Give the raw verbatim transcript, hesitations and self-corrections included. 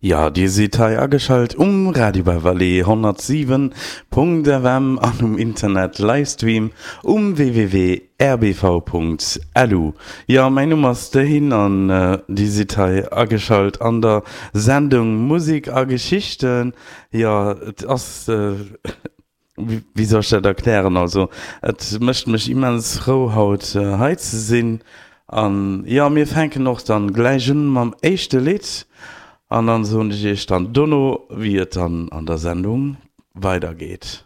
Jo, dir sidd hei ageschalt um Radio Beverly honnertsiwen Punkt F M an um Internet Livestream um W W W Punkt R B V Punkt L U. Jo, mäin Numm ass de Hin an dir sidd hei ageschalt an der Sendung Musik a Geschichten. Jo, et ass, wéi soll ech dat erklären, also et mécht mech immens frou haut hei ze sinn. An jo, mir fänken och dann gläich un mam éischte Lidd an dann soen ech iech dann dono wéi et dann an der Sendung weidergeet.